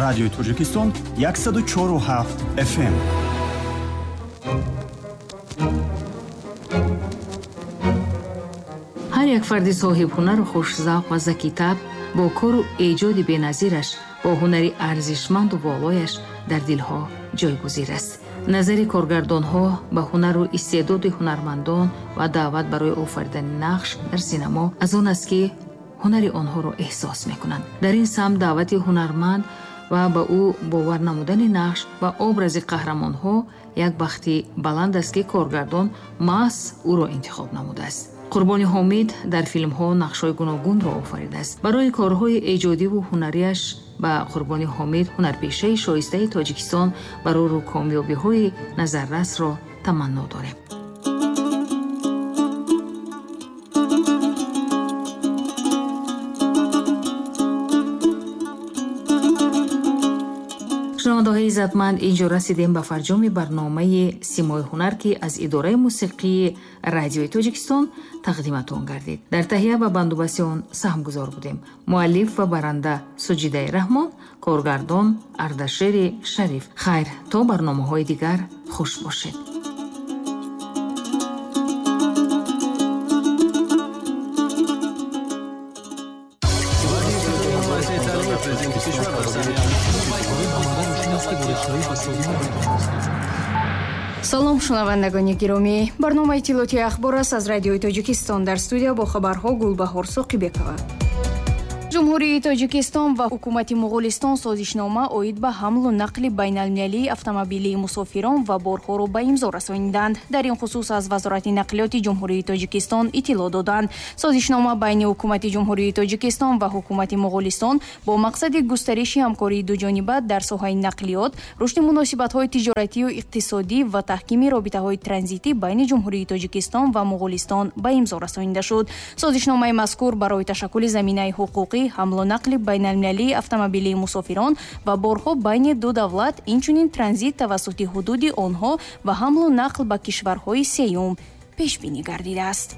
Радиои Тоҷикистон 104,7 FM. Ҳар як фарди соҳибҳунару хушзавқ ва закитаб бо кору эҷоди беназираш, бо ҳунари арзишманду волояш дар дилҳо ҷойгузир аст. Назари коргардонҳо ба ҳунару истеъдоди ҳунармандон ва даъват барои офаридани нақш дар синамо аз он аст, ки ҳунари онҳоро эҳсос мекунанд. Дар ин самт даъвати ҳунарманд ва ба ӯ бовар намудани нақш ва образи қаҳрамонҳо як бахти баланд аст, ки коргардон маҳз ӯро интихоб намудааст. Қурбони Ҳомид дар филмҳо нақшҳои гуногунро офаридааст. Барои корҳои эҷодиву ҳунарияш ба Қурбони Ҳомид, ҳунарпешаи шоистаи Тоҷикистон, барору комёбиҳои назаррасро таманно дорем. Шунавандаҳои иззатманд, инҷо расидем ба фарҷоми барномаи Симои ҳунар, ки аз идораи мусиқии Радиои Тоҷикистон тақдиматон гардид. Дар таҳия ва бандубасти он саҳмгузор будем. Муаллиф ва баранда Суҷидаи Раҳмон, коргардон Ардашери Шариф. Хайр, то барномаҳои дигар хуш бошед. Салом, шунавандагони гиромӣ. Барномаи иттилоотии ахбор аст аз Радиои Тоҷикистон. Дар студия бо хабарҳо Гулбаҳор Соқибекова. Ҷумҳурии Тоҷикистон ва ҳукумати Муғулистон созишнома оид ба ҳамлу нақли байналмилалии автомобилии мусофирон ва борҳоро ба имзо расониданд. Дар ин хусус аз Вазорати нақлиёти Ҷумҳурии Тоҷикистон иттилоъ доданд. Созишнома байни ҳукумати Ҷумҳурии Тоҷикистон ва ҳукумати Муғулистон бо мақсади густариши ҳамкории дуҷониба дар соҳаи нақлиёт, рушди муносибатҳои тиҷоратию иқтисодӣ ва таҳкими робитаҳои транзитӣ байни Ҷумҳурии Тоҷикистон ва Муғулистон ба имзо расонида шуд. Созишномаи мазкур барои ташаккули заминаи ҳуқуқӣ ҳамлу нақли байналмилалии автомобилии мусофирон ва борҳо байни ду давлат, инчунин транзит тавассути ҳудуди онҳо ва ҳамлу нақл ба кишварҳои сеюм пешбинӣ гардидааст.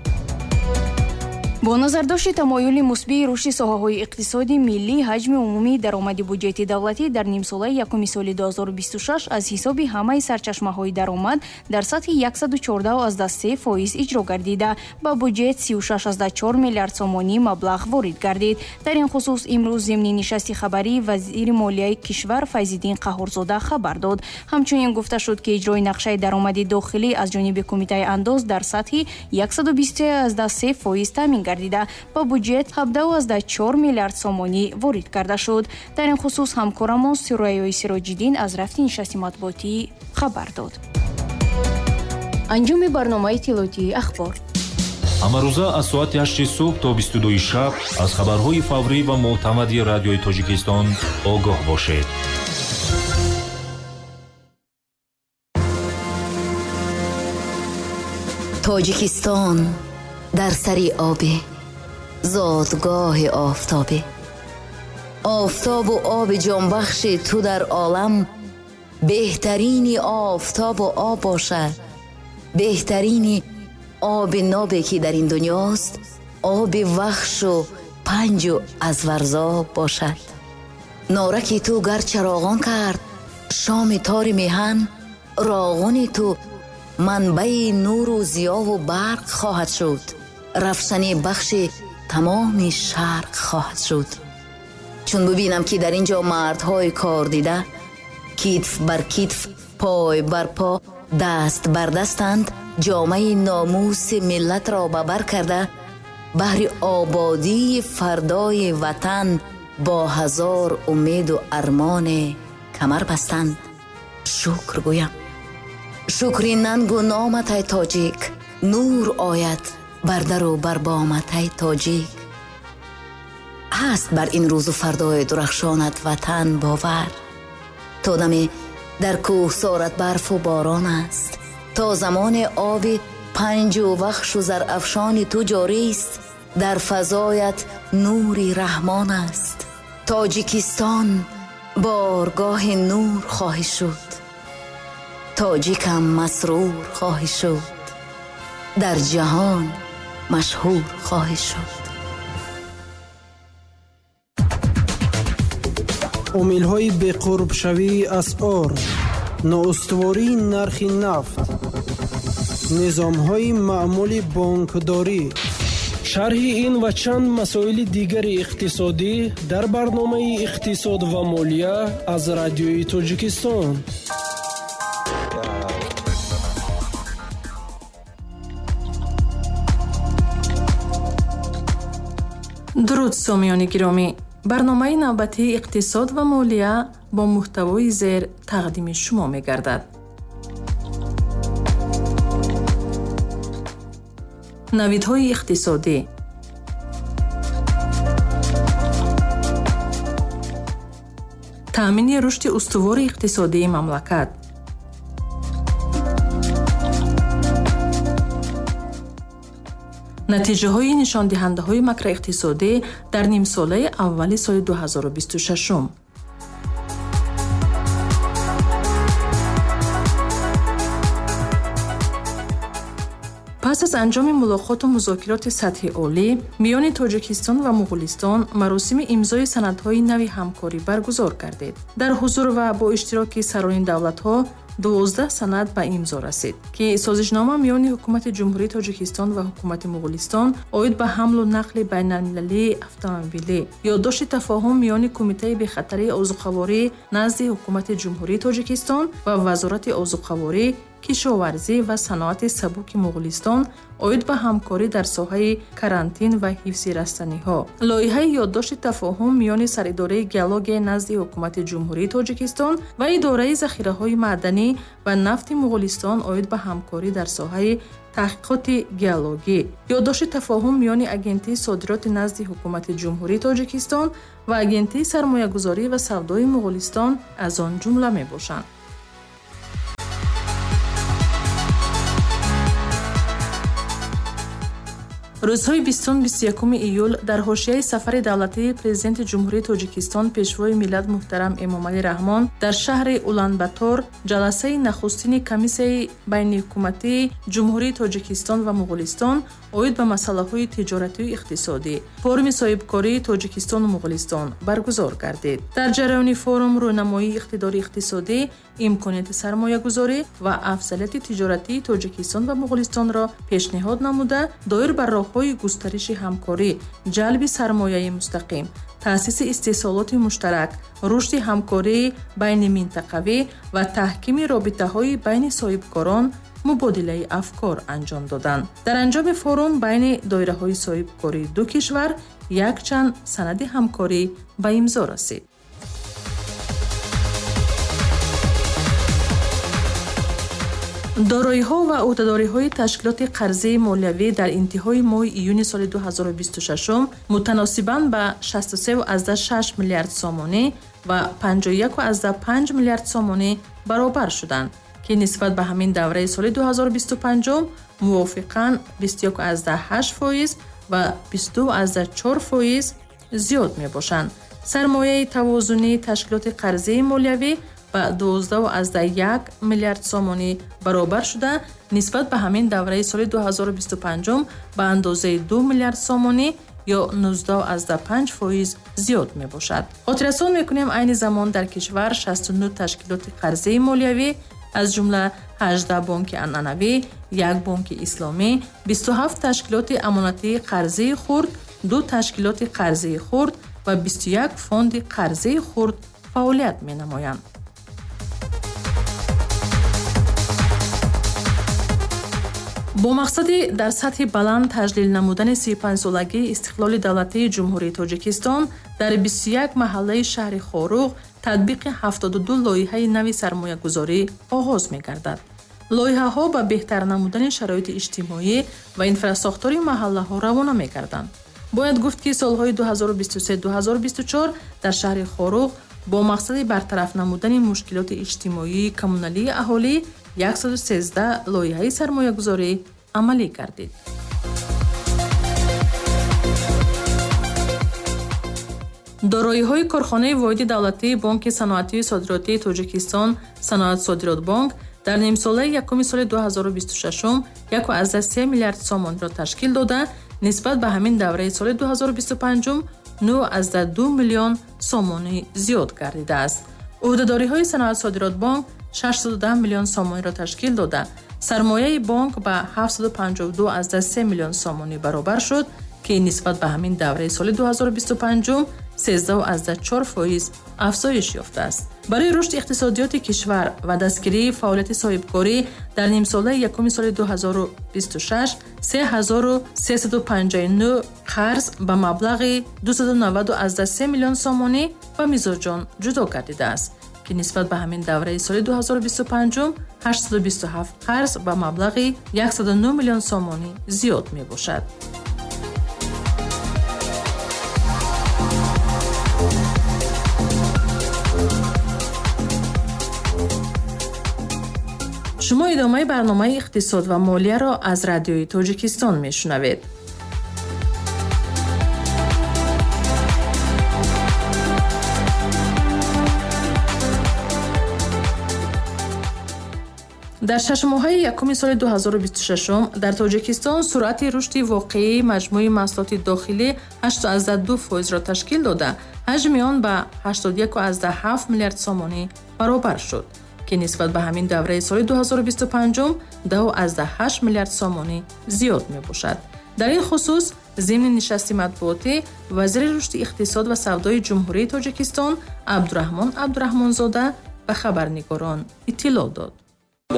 Бо назардошти тамоюли мусбии рушди соҳаҳои иқтисоди миллӣ, ҳаҷми умумии даромади буҷети давлатӣ дар нимсолаи якуми соли 2026 аз ҳисоби ҳамаи сарчашмаҳои даромад дар сатҳи 114,3% иҷро гардида, ба буҷет 36,4 миллиард сомонӣ маблағ ворид гардид. Дар ин хусус имрӯз зимни нишасти хабарии вазири молияи кишвар Файзиддин Қаҳҳорзода хабар дод. Ҳамчунин гуфта шуд, ки иҷрои нақшаи даромади дохилӣ аз ҷониби Кумитаи андоз дар сатҳи 123,3% таъмин гардида, ба буҷет 17,4 миллиард сомонӣ ворид карда шуд. Дар ин хусус ҳамкорамон Сурайёи Сироҷиддин аз рафти нишасти матбуотӣ хабар дод. Анҷоми барномаи иттилоотии ахбор. Ҳамарӯза аз соати 8 субҳ то 22 шаб аз хабарҳои фаврӣ ва мӯътамади Радиои Тоҷикистон огоҳ бошед. Тоҷикистон дар сари обӣ, зодгоҳи офтобӣ. Офтобу оби ҷонбахши ту дар олам беҳтарини офтобу об бошад. Беҳтарини оби нобе ки дар ин дунёст, оби вахшу панҷу аз варзоб бошад. Нораки ту гар чароғон кард шоми тори меҳан, роғуни ту манбаи нуру зиёву барқ хоҳад шуд. Равшани бахши тамоми шарқ хоҳад шуд. Чун бибинам ки дар ин ҷо мардҳои кор дида, китф бар китф, пой бар по, даст бар дастанд, ҷомаи номуси миллатро ба бар карда, баҳри ободии фардои ватан бо ҳазор умеду армоне камар бастанд, шукр гӯям. Шукри нангу номат, ай тоҷик, нур ояд бар дару бар бомат, ай тоҷик. Ҳаст бар ин рӯзу фардои дурахшонат ватан бовар. То даме дар кӯҳсорат барфу борон аст, то замоне оби панҷу вахшу зарафшони ту ҷорист, дар фазоят нури раҳмон аст. Тоҷикистон боргоҳи нур хоҳӣ шуд, тоҷикам масрур хоҳӣ шуд, дар ҷаҳон машҳур хоҳӣ шуд. Омилҳои беқурбшавии асъор, ноустувории нархи нафт, низомҳои маъмули бонкдорӣ. Шарҳи ин ва чанд масоили дигари иқтисодӣ дар барномаи «Иқтисод ва молия» аз Радиои Тоҷикистон. Дуруд, сомиёни гиромӣ! Барномаи навбатии «Иқтисод ва молия» бо муҳтавои зер тақдими шумо мегардад. Навидҳои иқтисодӣ, таъмини рушди устувори иқтисодии мамлакат, натиҷаҳои нишондиҳандаҳои макроиқтисодӣ дар нимсолаи аввали соли 2026. Пас аз анҷоми мулоқоту музокироти сатҳи олӣ миёни Тоҷикистон ва Муғулистон маросими имзои санадҳои нави ҳамкорӣ баргузор гардид. Дар ҳузур ва бо иштироки сарони давлатҳо 12 санад ба имзо расид, ки созишнома миёни Ҳукумати Ҷумҳурии Тоҷикистон ва Ҳукумати Муғулистон оид ба ҳамлу нақли байналмилалии автомобилӣ, ёддошти тафоҳум миёни Кумитаи бехатарии озуқаворӣ назди Ҳукумати Ҷумҳурии Тоҷикистон ва Вазорати озуқаворӣ, кишоварзӣ ва саноати сабуки Муғулистон оид ба ҳамкорӣ дар соҳаи карантин ва ҳифзи растаниҳо, лоиҳаи ёддошти тафоҳум миёни Саридораи геологияи назди Ҳукумати Ҷумҳурии Тоҷикистон ва Идораи захираҳои маъданӣ ва нафти Муғулистон оид ба ҳамкорӣ дар соҳаи таҳқиқоти геологӣ, ёддошти тафоҳум миёни Агентии содироти назди Ҳукумати Ҷумҳурии Тоҷикистон ва Агентии сармоягузорӣ ва савдои Муғулистон аз он ҷумла мебошанд. Рӯзҳои 20-21 июл дар ҳошияи сафари давлатии Президенти Ҷумҳурии Тоҷикистон, Пешвои миллат муҳтарам Эмомалӣ Раҳмон дар шаҳри Уланбатор ҷаласаи нахустини Комиссияи байниҳукуматии Ҷумҳурии Тоҷикистон ва Муғулистон оид ба масъалаҳои тиҷоратию иқтисодӣ, форуми соҳибкории Тоҷикистону Муғулистон баргузор гардид. Дар ҷараёни форум рӯйнамоии иқтидори иқтисодӣ, имконияти сармоягузорӣ ва афзалияти тиҷоратии Тоҷикистон ва Муғулистонро пешниҳод намуда, доир ба роҳҳои густариши ҳамкорӣ, ҷалби сармояи мустақим, таъсиси истеҳсолоти муштарак, рушди ҳамкории байниминтақавӣ ва таҳкими робитаҳои байни соҳибкорон мубодилаи афкор анҷом доданд. Дар анҷоми форум байни доираҳои соҳибкории ду кишвар якчанд санади ҳамкорӣ ба имзо расид. Дороиҳо ва ӯҳдадориҳои ташкилоти қарзии молиявӣ дар интиҳои моҳи июни соли 2026 мутаносибан ба 63,6 миллиард сомонӣ ва 51,5 миллиард сомонӣ баробар шуданд, ки нисбат ба ҳамин давраи соли 2025 мувофиқан 21,8% ва 22,4% зиёд мебошанд. Сармояи тавозунии ташкилоти қарзии молиявӣ ба 12,1 миллиард сомонӣ баробар шуда, нисбат ба ҳамин давраи соли 2025 ба андозаи 2 миллиард сомонӣ ё 19,5% зиёд мебошад. Хотиррасон мекунем, айни замон дар кишвар 69 ташкилоти қарзии молиявӣ, аз ҷумла 18 бонки анъанавӣ, 1 бонки исломӣ, 27 ташкилоти амонатии қарзии хурд, 2 ташкилоти қарзии хурд ва 21 фонди қарзии хурд фаъолият менамоянд. Бо мақсади дар сатҳи баланд таҷлил намудани 35-солагии истиқлоли давлатии Ҷумҳурии Тоҷикистон дар 21 маҳаллаи шаҳри Хоруғ татбиқи 72 лоиҳаи нави сармоягузорӣ оғоз мегардад. Лоиҳаҳо ба беҳтар намудани шароити иҷтимоӣ ва инфрасохтори маҳаллаҳо равона мегарданд. Бояд гуфт, ки солҳои 2023-2024 дар шаҳри Хоруғ бо мақсади бартараф намудани мушкилоти иҷтимоии коммуналии аҳолӣ 113 лоиҳаи сармоягузорӣ амалӣ гардид. Дороиҳои корхонаи воҳиди давлатии Бонки саноатию содиротии Тоҷикистон Саноатсодиротбонк дар нимсолаи якуми соли 2026 1,3 миллиард сомонро ташкил дода, нисбат ба ҳамин давраи соли 2025 9,2 миллион сомонӣ зиёд гардидааст. Ӯҳдадориҳои Саноат-содиротбонк 610 миллион сомониро ташкил дода, сармояи бонк ба 752,3 миллион сомонӣ баробар шуд, ки нисбат ба ҳамин давраи соли 2025 13,4% афзоиш ёфтааст. Барои рушди иқтисодиёти кишвар ва дастгирии фаъолияти соҳибкорӣ дар нимсолаи якуми соли 2026 3359 қарз ба маблағи 290,3 миллион сомонӣ ба мизоҷон ҷудо гардидааст, ки нисбат ба ҳамин давраи соли 2025 827 қарз ба маблағи 109 миллион сомонӣ зиёд мебошад. Шумо идомаи барномаи иқтисод ва молияро аз Радиои Тоҷикистон мешунавед. Дар шашмоҳаи якуми соли 2026 дар Тоҷикистон суръати рушди воқеии маҷмӯи маҳсулоти дохилӣ 8,2%-ро ташкил дода, ҳаҷми он ба 81,7 миллиард сомонӣ баробар шуд, ки нисбат ба ҳамин давраи соли 2025 2,8 миллиард сомонӣ зиёд мебошад. Дар ин хусус зимни нишасти матбуотӣ вазири рушди иқтисод ва савдои Ҷумҳурии Тоҷикистон Абдураҳмон Абдураҳмонзода ба хабарнигорон иттилоъ дод.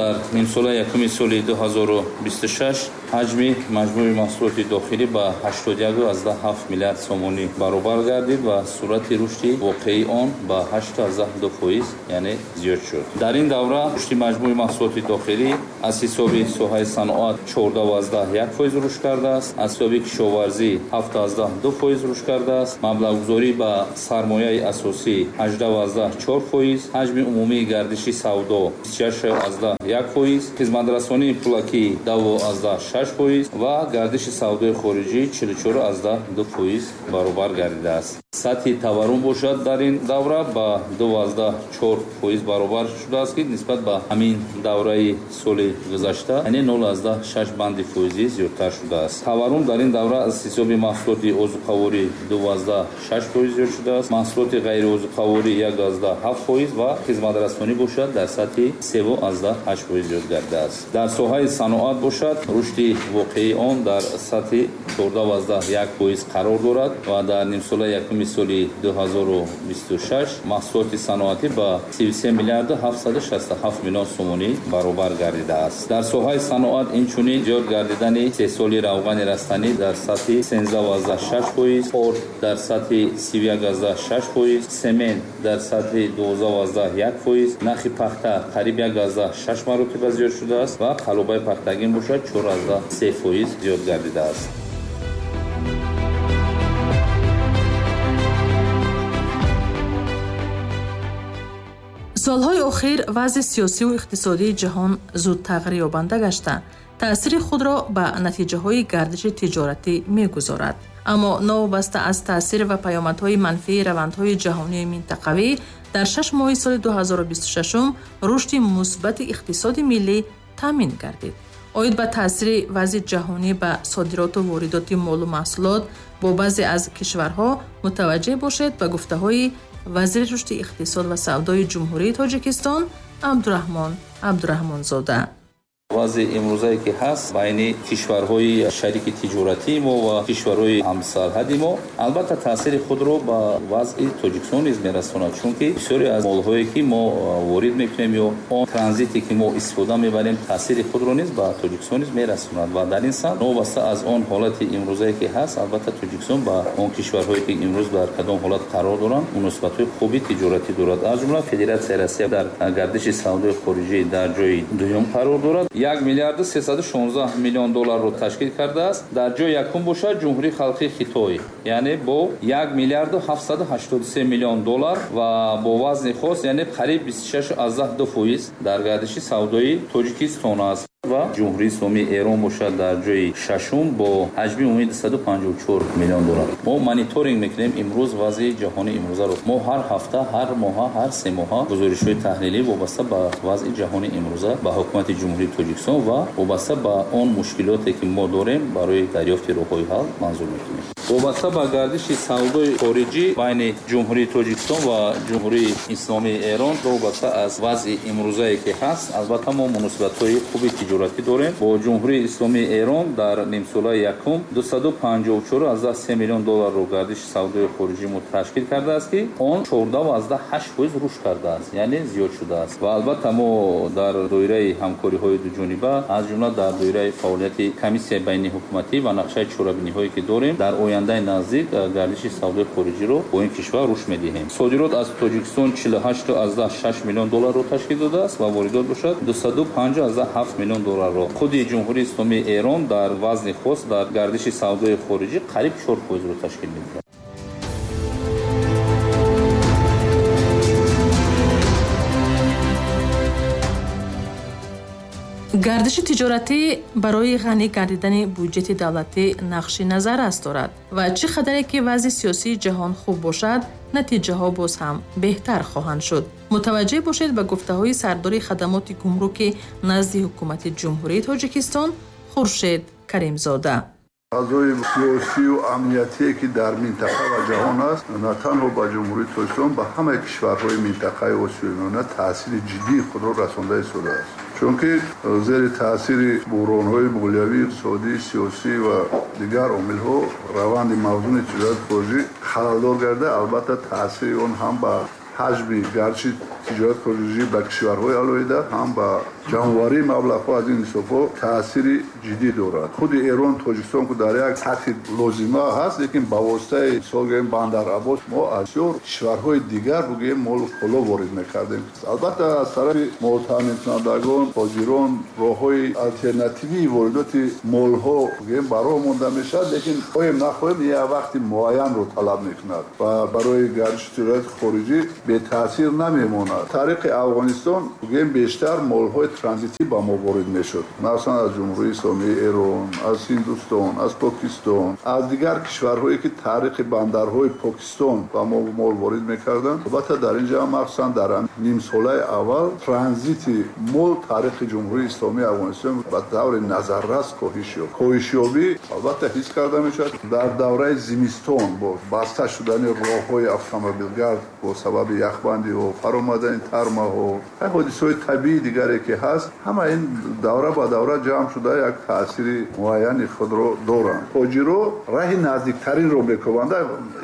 Дар нимсолаи якуми соли 2026 ҳаҷми маҷмӯи маҳсулоти дохилӣ ба 81,7 миллиард сомонӣ баробар гардид ва суръати рушди воқеии он ба 8,2% яъне зиёд шуд. Дар ин давра рушди маҷмӯи маҳсулоти дохилӣ аз ҳисоби соҳаи саноат 14,1% рушд кардааст, аз ҳисоби кишоварзӣ 7,2% рушд кардааст, маблағгузорӣ ба сармояи асосӣ 18,4%, ҳаҷми умумии гардиши савдо 26,1%, хизматрасонии пулакӣ 2,6% ва гардиши савдои хориҷӣ 44,2% баробар гардидааст. Сатҳи таваррум бошад дар ин давра ба 2,4% баробар шудааст, ки нисбат ба ҳамин давраи соли гузашта яъне 0,6 банди фоизӣ зиёдтар шудааст. Таваррум дар ин давра аз ҳисоби маҳсулоти озуқаворӣ 2,6% зиёд шудааст, маҳсулоти ғайриозуқаворӣ 1,7% ва хизматрасонӣ бошад дар сатҳи 3,8% зиёд гардидааст. Дар соҳаи саноат бошад рушди воқеии он дар сатҳи 14,1% қарор дорад ва дар нимсолаи якуми соли 2026 маҳсулоти саноатӣ ба 33 миллиарду 767 миллион сомонӣ баробар гардидааст. Дар соҳаи саноат инчунин зиёд гардидани истеҳсоли равғани растанӣ дар сатҳи 13,6%, орд дар сатҳи 31,6%, семент дар сатҳи 12,1%, нархи пахта қариб 1,6 маротиба зиёд шудааст ва қалобаи пахтагин бошад 4,3% зиёд гардидааст. Солҳои охир вазъи сиёсиву иқтисодии ҷаҳон зуд тағйирёбанда гашта, таъсири худро ба натиҷаҳои гардиши тиҷоратӣ мегузорад. Аммо новобаста аз таъсир ва паёмадҳои манфии равандҳои ҷаҳонию минтақавӣ, дар 6 моҳи соли 2026 рушди мусбати иқтисоди миллӣ таъмин гардид. Оид ба таъсири вазъи ҷаҳонӣ ба содироту воридоти молу маҳсулот бо баъзе аз кишварҳо мутаваҷҷеҳ бошед ба гуфтаҳои вазири рушди иқтисод ва савдои Ҷумҳурии Тоҷикистон Абдураҳмон Абдураҳмонзода. Вазъи имрӯзае ки ҳаст байни кишварҳои шарики тиҷоратии мо ва кишварҳои ҳамсарҳади мо албатта таъсири худро ба вазъи Тоҷикистон низ мерасонад, чунки бисёре аз молҳое ки мо ворид мекунем ё он транзите ки мо истифода мебарем таъсири худро низ ба Тоҷикистон низ мерасонад ва дар ин самт новобаста аз он ҳолати имрӯзае ки ҳаст албатта Тоҷикистон ба он кишварҳое ки имрӯз дар кадом ҳолат қарор доранд муносибатҳои хуби тиҷоратӣ дорад. Аз ҷумла Федератсияи Россия дар гардиши савдои хориҷӣ дар ҷои дуюм қарор дорад. 1 миллиарду 316 миллион долларро ташкил кардааст. Дар ҷои якум бошад Ҷумҳурии Халқии Хитой, яъне бо 1 миллиарду 783 миллион доллар ва бо вазни хос, яъне қариб 26,2% дар гардиши савдои Тоҷикистон аст. Ва Ҷумҳурии Исломии Эрон бошад дар ҷои шашум бо ҳаҷми умумии 254 миллион доллар. Мо мониторинг мекунем имрӯз вазъи ҷаҳони имрӯзаро. Мо ҳар ҳафта, ҳар моҳа, ҳар се моҳа гузоришҳои таҳлилӣ вобаста ба вазъи ҷаҳони имрӯза ба ҳукумати Ҷумҳурии Тоҷикистон ва вобаста ба он мушкилоте ки мо дорем барои дарёфти роҳҳои ҳал манзур мекунем. Вобаста ба гардиши савдои хориҷӣ байни Ҷумҳурии Тоҷикистон ва Ҷумҳурии Исломии Эрон, вобаста аз вазъи имрӯзае ки ҳаст, албатта мо муносибатҳои хуби тиҷоратӣ дорем. Бо Ҷумҳурии Исломии Эрон дар нимсолаи якум 254,3 миллион долларро гардиши савдои хориҷӣ мо ташкил кардааст, ки он 14,8% рушд кардааст, яъне зиёд шудааст. Ва албатта мо дар доираи ҳамкориҳои дуҷониба, аз ҷумла дар доираи фаъолияти комиссияи байниҳукуматӣ ва нақшаи чорабиниҳое ки дорем, дар ояндаи наздик гардиши савдои хориҷиро бо ин кишвар рушд медиҳем. Содирот аз Тоҷикистон 48,6 миллион долларро ташкил додааст ва воридот бошад 205,7 миллион долларро. Худи Ҷумҳурии Исломии Эрон дар вазни хос дар гардиши савдои хориҷӣ қариб 4%-ро ташкил медиҳад. Гардиши тиҷоратӣ барои ғанӣ гардидани буҷети давлатӣ нақши назаррас дорад ва чӣ қадаре ки вазъи сиёсии ҷаҳон хуб бошад, натиҷаҳо боз ҳам беҳтар хоҳанд шуд. Мутаваҷҷеҳ бошед ба гуфтаҳои сардори хадамоти гумруки назди ҳукумати Ҷумҳурии Тоҷикистон Хуршед Каримзода. Фазои сиёсию амниятие ки дар минтақа ва ҷаҳон аст, на танҳо ба Ҷумҳурии Тоҷикистон, ба ҳамаи кишварҳои минтақаи Осиёи Миёна таъсири ҷиддии худро расонда истодааст. Чунки зери таъсири буҳронҳои молиявӣ, иқтисодӣ, сиёсӣ ва дигар омилҳо раванди мавзуни тиҷорати хориҷӣ халалдор гардида, албатта таъсири он ҳам ба ҳаҷми гардиши тиҷорати хориҷӣ ба кишварҳои алоҳида, ҳам ба ҷамъоварии маблағҳо аз ин ҳисобҳо таъсири ҷиддӣ дорад. Худи Эрон, Тоҷикистон ки дар як сатҳи лозима ҳаст, лекин ба воситаи мисол гӯем Бандар-Аббос мо аз бисёр кишварҳои дигар бигӯем молу коло ворид мекардем. Албатта аз тарафи молтаъминкунандагон, тоҷирон роҳҳои алтернативии воридоти молҳо бигӯем ба роҳ монда мешавад, лекин хоҳем нахоҳем як вақти муайянро талаб мекунад ва барои гардиши тиҷорати хориҷӣ бетаъсир намемонад. Тариқи Афғонистон бигӯем бештар молҳои транзитӣ ба мо ворид мешуд, махсусан аз Ҷумҳурии Исломии Эрон, аз Ҳиндустон, аз Покистон, аз дигар кишварҳое ки тариқи бандарҳои Покистон ба мо мол ворид мекарданд. Албатта дар ин ҷо махсусан дар нимсолаи аввал транзити мол тариқи Ҷумҳурии Исломии Афғонистон ба таври назаррас коҳиш ёфт. Коҳишёбӣ албатта ҳис карда мешавад дар давраи зимистон бо баста шудани роҳҳои автомобилгард бо сабаби яхбандиҳо, фаромадани тармаҳо, ҳодисаҳои табиии дигаре ки ҳаст, ҳама ин давра ба давра ҷамъ шуда як таъсири муайяни худро доранд. Тоҷиро раҳи наздиктаринро мекӯбанд.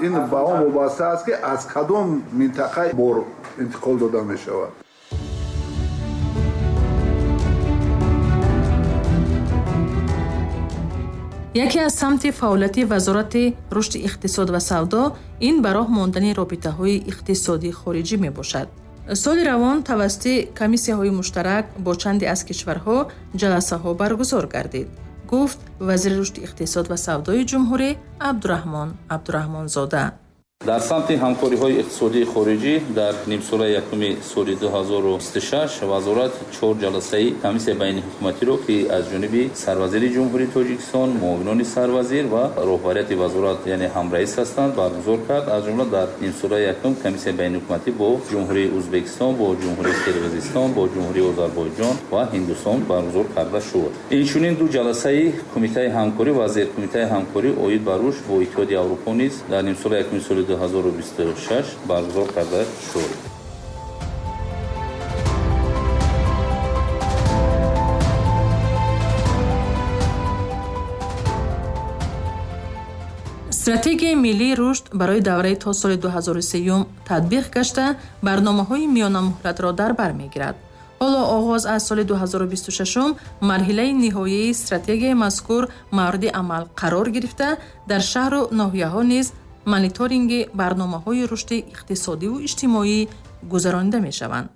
Ин ба он вобаста аст ки аз кадом минтақа бор интиқол дода мешавад. Яке аз самти фаъолияти Вазорати рушди иқтисод ва савдо ин ба роҳ мондани робитаҳои иқтисодии хориҷӣ мебошад. Соли равон тавассути комиссияҳои муштарак бо чанде аз кишварҳо ҷаласаҳо баргузор гардид, гуфт вазири рушди иқтисод ва савдои ҷумҳурӣ Абдураҳмон Абдураҳмонзода. Дар самти ҳамкориҳои иқтисодии хориҷӣ дар нимсолаи якуми соли 2026 вазорат 4 ҷаласаи комиссияи байниҳукуматиро, ки аз ҷониби сарвазири Ҷумҳурии Тоҷикистон, муовинони сарвазир ва роҳбарияти вазорат, яъне ҳамраис ҳастанд, баргузор кард. Аз ҷумла дар нимсолаи якум комиссияи байниҳукуматӣ бо Ҷумҳурии Ӯзбекистон, бо Ҷумҳурии Қирғизистон, бо Ҷумҳурии Озарбойҷон ва Ҳиндустон баргузор карда шуд. Инчунин 2 ҷаласаи кумитаи ҳамкорӣ ва зеркумитаи ҳамкорӣ оид ба рушд бо Иттиҳоди Аврупо низ дар нимсолаи якуми соли 2026 баргузор карда шуд. Стратегияи миллии рушд барои давраи то соли 2030 татбиқ гашта, барномаҳои миёнамуҳлатро дар бар мегирад. Ҳоло оғоз аз соли 2026 марҳилаи ниҳоии стратегияи мазкур мавриди амал қарор гирифта, дар шаҳру ноҳияҳо низ мониторинги барномаҳои рушди иқтисодиву иҷтимоӣ гузаронида мешаванд.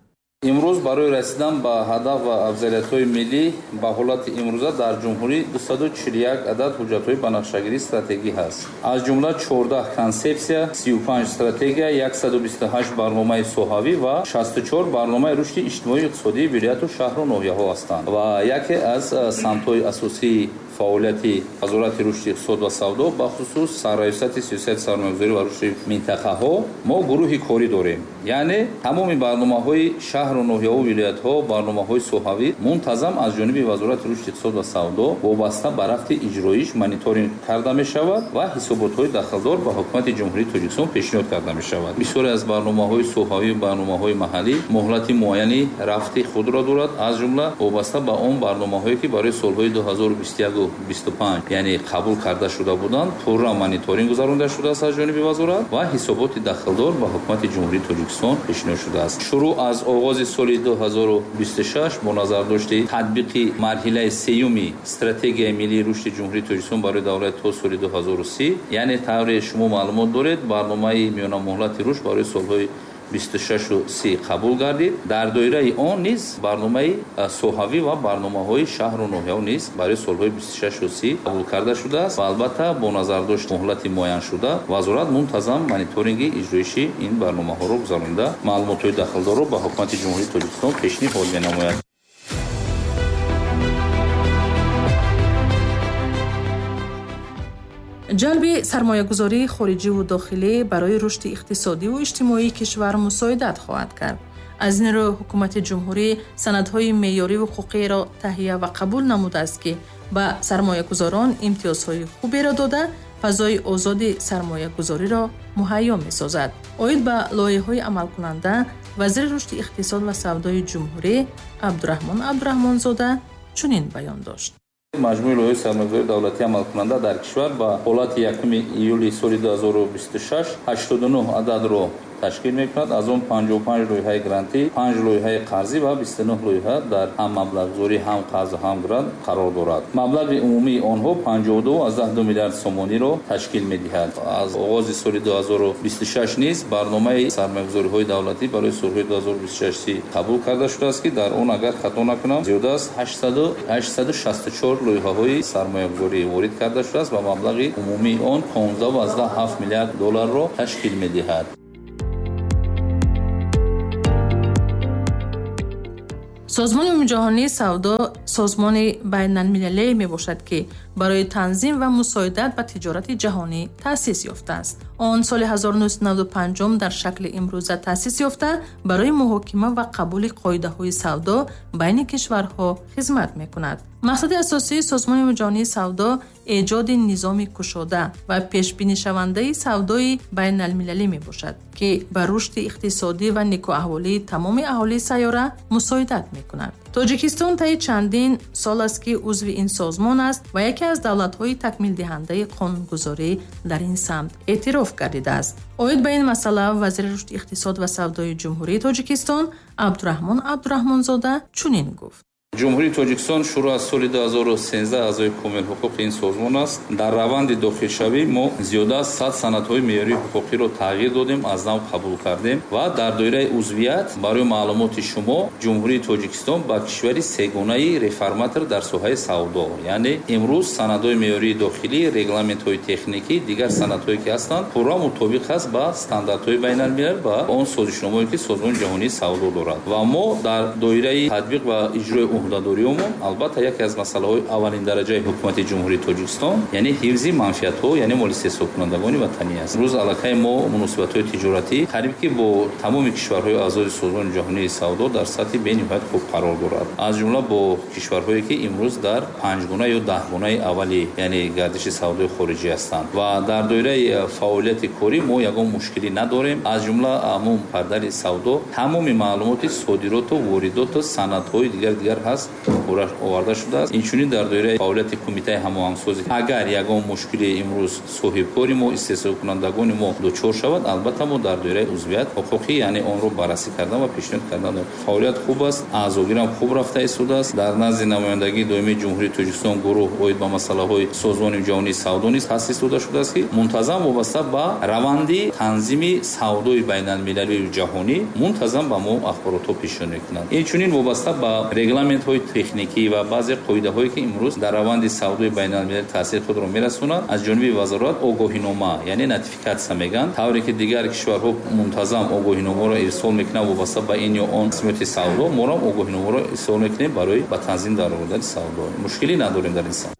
Имрӯз барои расидан ба ҳадаф ва афзалиятҳои миллӣ ба ҳолати имрӯза дар ҷумҳурӣ 241 адад ҳуҷҷатҳои банақшагирии стратегӣ ҳаст. Аз ҷумла 14 консепсия, 35 стратегия, 128 барномаи соҳавӣ ва 64 барномаи рушди иҷтимоию иқтисодии вилояту шаҳру ноҳияҳо ҳастанд. Ва яке аз самтҳои асосии Фаъолияти Вазорати рушди иқтисод ва савдо, бахусус Сарраёсати сиёсати сармоягузорӣ ва рушди минтақаҳо, мо гурӯҳи корӣ дорем. Яъне тамоми барномаҳои шаҳру ноҳияву вилоятҳо, барномаҳои соҳавӣ мунтазам аз ҷониби Вазорати рушди иқтисод ва савдо вобаста ба рафти иҷроиш мониторинг карда мешавад ва ҳисоботҳои дахлдор ба Ҳукумати Ҷумҳурии Тоҷикистон пешниҳод карда мешавад. Бисёре аз барномаҳои соҳавӣ ва барномаҳои маҳаллӣ муҳлати муайяни рафти худро дорад, аз ҷумла вобаста ба он барномаҳое ки барои солҳои 2021-25 яъне қабул карда шуда буданд, пурра мониторинг гузаронида шудааст аз ҷониби вазорат ва ҳисоботи дахлдор ба Ҳукумати Ҷумҳурии Тоҷикистон пешниҳод шудааст. Шурӯъ аз оғози соли 2026 бо назардошти татбиқи марҳилаи сеюми стратегияи миллии рушди Ҷумҳурии Тоҷикистон барои давраи то соли 2030, яъне тавре шумо маълумот доред, барномаи миёнамуҳлати рушд барои солҳои 26-30 қабул гардид. Дар доираи он низ барномаи соҳавӣ ва барномаҳои шаҳру ноҳияҳо низ барои солҳои 26-30 қабул карда шудааст ва албатта бо назардошти муҳлати муайяншуда вазорат мунтазам мониторинги иҷроиши ин барномаҳоро гузаронида маълумотҳои дахлдорро ба Ҳукумати Ҷумҳурии Тоҷикистон пешниҳод менамояд. Ҷалби сармоягузории хориҷиву дохилӣ барои рушди иқтисодиву иҷтимоии кишвар мусоидат хоҳад кард. Аз ин рӯ ҳукумати ҷумҳурӣ санадҳои меъёриву ҳуқуқиро таҳия ва қабул намудааст, ки ба сармоягузорон имтиёзҳои хуберо дода, фазои озоди сармоягузориро муҳайё месозад. Оид ба лоиҳаҳои амалкунанда вазири рушди иқтисод ва савдои ҷумҳурӣ Абдураҳмон Абдураҳмонзода чунин баён дошт. Маҷмӯи лоиҳаи сармоягузории давлатӣ амалкунанда дар кишвар ба ҳолати 1 июли соли 2026 89 ададро ташкил мекунад. Аз он 55 лоиҳаи грантӣ, 5 лоиҳаи қарзӣ ва 29 лоиҳа дар ҳам маблағгузорӣ, ҳам қарз, ҳам грант қарор дорад. Маблағи умумии онҳо 52,2 миллиард сомониро ташкил медиҳад. Аз оғози соли 2026 низ барномаи сармоягузориҳои давлатӣ барои солҳои 2026 қабул карда шудааст, ки дар он агар хато накунам зиёда аз 864 лоиҳаҳои сармоягузорӣ ворид карда шудааст ва маблағи умумии он 15,7 миллиард долларро ташкил медиҳад. Созмони Умумиҷаҳонии савдо созмони байналмилалие мебошад, ки барои танзим ва мусоидат ба тиҷорати ҷаҳонӣ таъсис ёфтааст. Он соли 1995 дар шакли имрӯза таъсис ёфта, барои муҳокима ва қабули қоидаҳои савдо байни кишварҳо хизмат мекунад. Мақсади асосии Созмони Умумиҷаҳонии савдо эҷоди низоми кушода ва пешбинишавандаи савдои байналмилалӣ мебошад, ки ба рушди иқтисодӣ ва некӯаҳволии тамоми аҳолии сайёра мусоидат мекунад. Тоҷикистон таи чандин сол аст, ки узви ин созмон аст ва яке аз давлатҳои такмилдиҳандаи қонунгузорӣ дар ин самт эътироф гардидааст. Оид ба ин масъала вазири рушди иқтисод ва савдои Ҷумҳурии Тоҷикистон Абдураҳмон Абдураҳмонзода чунин гуфт. Ҷумҳурии Тоҷикистон шурӯъ аз соли 2013 аъзои комилҳуқуқи ин созмон аст. Дар раванди дохилшавӣ мо зиёда аз 100 санадҳои меъёрии ҳуқуқиро тағйир додем, аз нав қабул кардем ва дар доираи узвият барои маълумоти шумо Ҷумҳурии Тоҷикистон ба кишвари сегонаи реформатор дар соҳаи савдо, яъне имрӯз санадҳои меъёрии дохилӣ, регламентҳои техникӣ, дигар санадҳое ки ҳастанд пурра мутобиқ аст ба стандартҳои байналмилал ва он созишномое ки Созмони ҷаҳонии савдо дорад. Ва мо дар доираи татбиқ ва иҷрои уҳдадориёмон албатта яке аз масъалаҳои аввалин дараҷаи ҳукумати Ҷумҳурии Тоҷикистон яъне ҳифзи манфиатҳо, яъне моли истеҳсолкунандагони ватанӣ аст. Имрӯз аллакай мо муносибатҳои тиҷоратӣ қариб ки бо тамоми кишварҳои аъзои Созмони ҷаҳонии савдо дар сатҳи бениҳоят хуб қарор дорад, аз ҷумла бо кишварҳое ки имрӯз дар панҷгуна ё даҳгунаи аввали яъне гардиши савдои хориҷӣ ҳастанд. Ва дар доираи фаъолияти корӣ мо ягон мушкилӣ надорем, аз ҷумла ҳамон падари савдо тамоми маълумоти содироту воридоту санадҳои дигар ҳаст оварда шудааст. Инчунин дар доираи фаъолияти кумитаи ҳамоҳангсозӣ агар ягон мушкили имрӯз соҳибкори мо, истеҳсолкунандагони мо дучор шавад, албатта мо дар доираи узвият ҳуқуқӣ яъне онро баррасӣ кардан ва пешниҳод кардан. Фаъолият хуб аст, аъзогирам хуб рафта истодааст. Дар назди намояндагии доимии Ҷумҳурии Тоҷикистон гурӯҳ оид ба масъалаҳои Созмони ҷаҳонии савдо низ таъсис дода шудааст, ки мунтазам вобаста ба раванди танзими савдои байналмилалию ҷаҳонӣ мунтазам ба мо ахборотҳо пешниҳод мекунанд. Инчунин вобаста ба регламентҳои техникӣ ва баъзе қоидаҳое ки имрӯз дар раванди савдои байналмилалӣ таъсири худро мерасонанд, аз ҷониби вазорат огоҳинома яъне нотификатсия мегӯянд, тавре ки дигар кишварҳо мунтазам огоҳиномаро ирсол мекунанд вобаста ба ин ё он қисмати савдо, моро огоҳиномаро ирсол мекунем барои ба танзим даровардани савдо. Мушкилӣ надорем дар ин самт.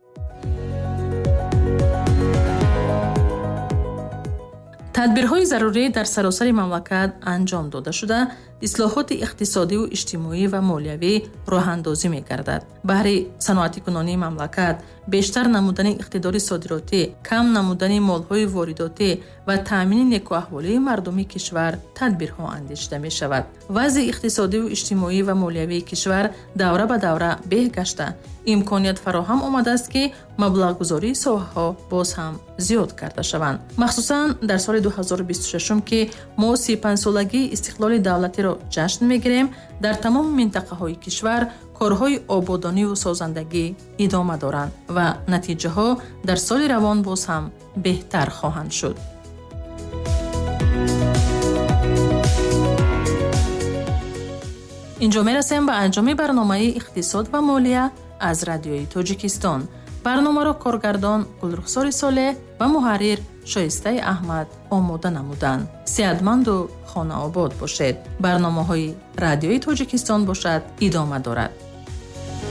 Тадбирҳои зарурӣ дар саросари мамлакат анҷом дода шуда, ислоҳоти иқтисодиву иҷтимоӣ ва молиявӣ роҳандозӣ мегардад. Баҳри саноатикунонии мамлакат, бештар намудани иқтидори содиротӣ, кам намудани молҳои воридотӣ ва таъмини некӯаҳволии мардуми кишвар тадбирҳо андешида мешавад. Вазъи иқтисодиву иҷтимоӣ ва молиявии кишвар давра ба давра беҳ гашта, имконият фароҳам омадааст, ки маблағгузории соҳаҳо боз ҳам зиёд карда шаванд. Махсусан дар соли 2026, ки мо 35-солагии истиқлоли давлатиро ҷашн мегирем, дар тамоми минтақаҳои кишвар корҳои ободониву созандагӣ идома доранд ва натиҷаҳо дар соли равон боз ҳам беҳтар хоҳанд шуд. Инҷо мерасем ба анҷоми барномаи «Иқтисод ва молия» аз Радиои Тоҷикистон. Барномаро коргардон Гулрухсори Солеҳ ва муҳаррир Шоистаи Аҳмад омода намуданд. Сеҳатманду хонаобод бошед. Барномаҳои Радиои Тоҷикистон бошад идома дорад.